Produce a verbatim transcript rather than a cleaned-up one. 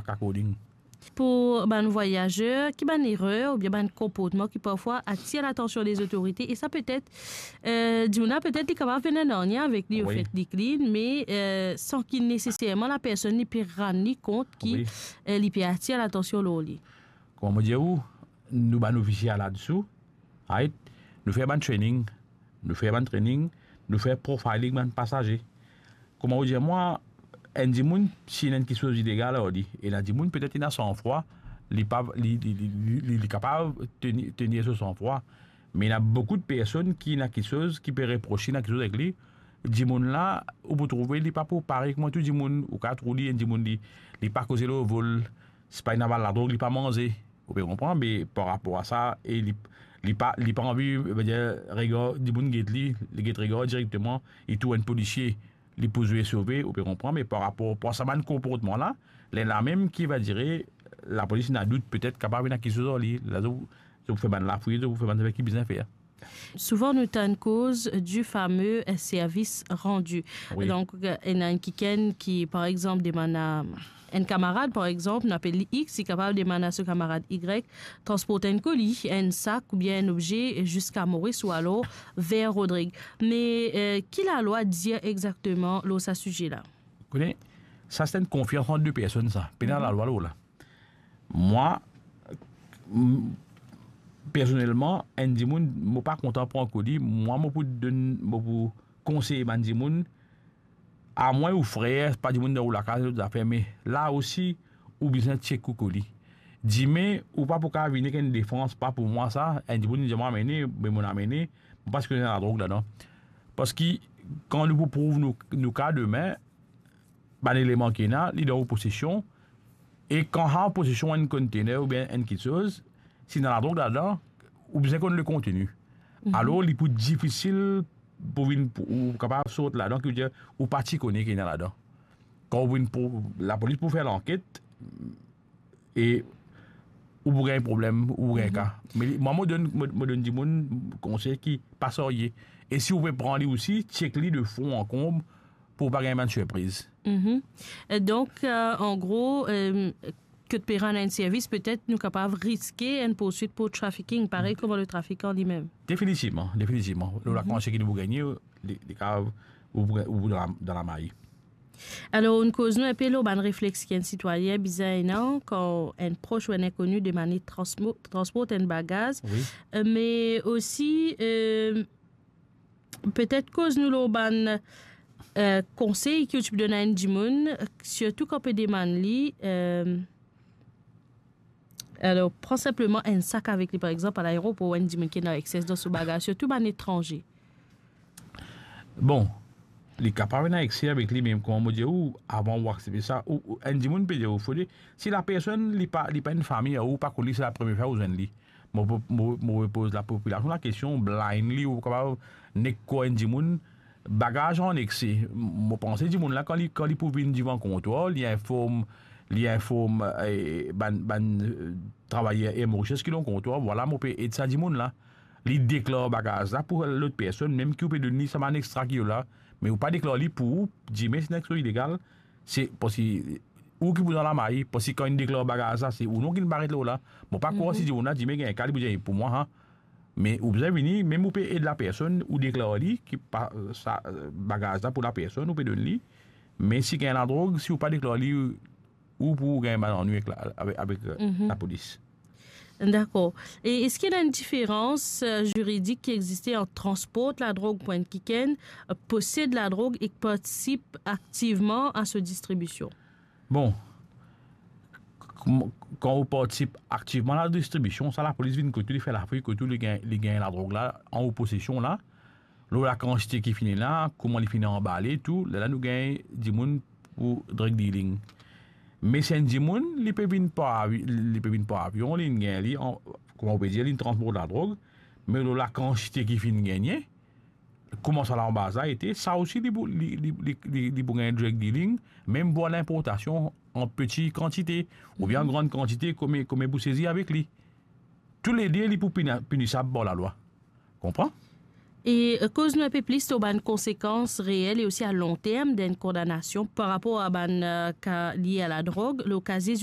according. Pou bann vwayazer, ki bann erer oubien bann konportman ki parfwa atir latansion lezotorite, e sa petet, eh, dimoun la petet li kapav ena nanye avek li, Wi. ofet li clean, me, eh, san ki neseserman lapersonn li pe rann li kont ki, Wi. eh, li pe atir latansion lor li. Kouma mo dir ou, nou bann ofisie ladsou, right? Nou fer bann training, nou fer bann training, nou fer profiling bann pasaze. Kouma ou dir mwa, enn dimoun, si ena enn kiksoz ilegal ar li, ena dimoun petet ena sanfrwa, li pa, li, li, li, li, li, li kapav teni, tenir so sanfrwa. Me ena boukou de personn ki ena kiksoz ki pe repros li, ena kiksoz avek li. Dimoun la, ou pou trouve li pa pou parey kouma tou dimoun, ou kapav trouv li, enn dimoun li, li pa koze lor vol, sipa ena ladrog, li pa manze. Ou pe konpran, me par rapor a sa, e li, li pa, li pa anvi, vedir, regar dimoun get li, li get regar direkteman, li trouv enn polisie, li pou zwe sove, ou pe konpran, me par rapor, par sa bann konportman la, lerla mem ki va dire, lapolis ena dout, petet kapav ena kiksoz ar li, la zot, zot pou fer bann lafouy, zot pou fer bann zafer ki bizin fer. Souvan nou tann koz du fameux, eh, service rendu. Wi. Donk, eh, ena enn kikenn ki, par exanp, demann a enn kamarad, par exanp, nou apel li X, li kapav demann a so kamarad Y, transport enn koli, enn sak oubien enn obze ziska Moris ou alor ver Rodrig. Me, eh, ki lalwa dir exakteman lor sa size la? Kone, sa se enn konfians ant de personn sa. Pena Mhm. lalwa lor la. Mwa, m-, personelman, enn dimoun, mo pa kontan pran koli, mwa, mo pou donn, mo pou konsey bann dimoun, amwin ou frer, pa dimoun dan ou lakaz, zot zafer, me la osi, ou bizin check ou koli. Dime, ou pa pou kapav vini ek enn defans, pa pou mwa sa, enn dimoun dir mwa amene, be mo amenn, mo pa sipoze ena ladrog ladan. Parski, kan nou pou prouv nou, nou ka demin, bann eleman ki ena, li dan ou posesion, e kan ou posesion enn kontener oubien enn kiksoz, si ena ladrog ladan, ou bizin konn le konteni. Mhm. Alor, li pou difisil pou vinn, pou, ou kapav sort ladan, ki vedir, ou pa ti kone ki ena ladan. Kan ou vinn pou, lapolis pou fer lanket, e ou pou gagn problem, ou pou gagn Mhm. ka. Me li, mwa, mo donn, mo, mo donn dimoun konsey ki pa sarye. E si ou pe pran li osi, check li de fon an konb pou pa gagn bann sirpriz. Mhm. E donk, eh, an gro, eh, kot pe rann enn servis, petet nou kapav riske enn poursuit pou trafficking, parey kouma le trafikan limem. Definitivman, definitivman. Lor Mhm. lakantite ki nou pou gagne, li, li kapav, ou pou, ou pou dan la, dan lamari. Alor, nou koz nou enpe lor bann reflex ki enn sitwayin bizin ena kan enn pros ou enn inkoni demann li transmo-, transport enn bagaz. Wi. Eh, me osi, eh, petet koz nou lor bann, eh, konsey ki ou ti pou donn a enn dimoun, sirtou kan pe demann li, eh, alor, pran sinpleman enn sak avek li, par exanp, a laeropor, enn dimoun ki ena ekses dan so bagaz, sirtou bann etranze. Bon, li kapav ena ekse avek li, me kouma mo dir ou, avan ou aksepte sa, ou, ou, enn dimoun pe dir ou, fode, si lapersonn, li pa, li pa enn fami a ou, ou pa konn li, se lapremie fwa ou zwenn li. Mo, mo, mo, mo poz lapopilasion lakestion, blindly, ou kapav nek krwar enn dimoun, bagaz an ekse. Mo panse dimoun la, kan li, kan li pou vinn divan kontwar, li inform, li inform, eh, bann, bann, eh, travayer Air Mauritius ki dan kontwar, vwala, mo pe ed sa dimoun la. Li deklar bagaz la pou lot personn, mem ki ou pe donn li sa bann extra ki la, me ou pa deklar li pou ou, dime si ena kiksoz ilegal, se parski ou ki pou dan lamari, parski kan inn deklar bagaz la, se ou non ki paret lor la. Mo pa krwar Mhm. si dimoun la dime gagn ka, li pou dir pou mwa, ha. Me ou bizin vini, mem ou pe ed lapersonn, ou deklar li ki pa, sa, bagaz la pou lapersonn, ou pe donn li. Me si gagn ladrog, si ou pa deklar li, ou pou gagn bann annwi avek la, avek, avek, eh, Mhm. lapolis. Dakor. E eski ena enn diferans, eh, ziridik ki existe ant transport ladrog pou enn kikenn, eh, posed ladrog ek partisip aktivman a so distribision? Bon, kan, kan ou partisip aktivman a la distribision, sa lapolis vinn kot ou, li fer lafouy kot ou, li gagn, li gagn ladrog la an ou posesion la, lor lakantite ki finn la, kouma li finn anbale, tou, lerla nou gagn dimoun pou drug dealing. Me si enn dimoun, li pe vinn par avi-, li pe vinn par avion, li gagn li, an, kouma ou pe dir, li transport ladrog, me lor lakantite ki finn gagne, kouma sa lanbaz la ete, sa osi li pou, li, li, li, li, li pou gagn drug dealing, mem pou linportasion an peti kantite, oubien an Mhm. gran kantite, kouma, kouma pou sezi avek li. Toulede, li pou pina-, pinisab par lalwa. Konpran? E, eh, koz nou enpe plis lor bann konsekans reel e osi a long term d'enn kondanasion par rapor a bann, eh, ka lie a ladrog, lor kazie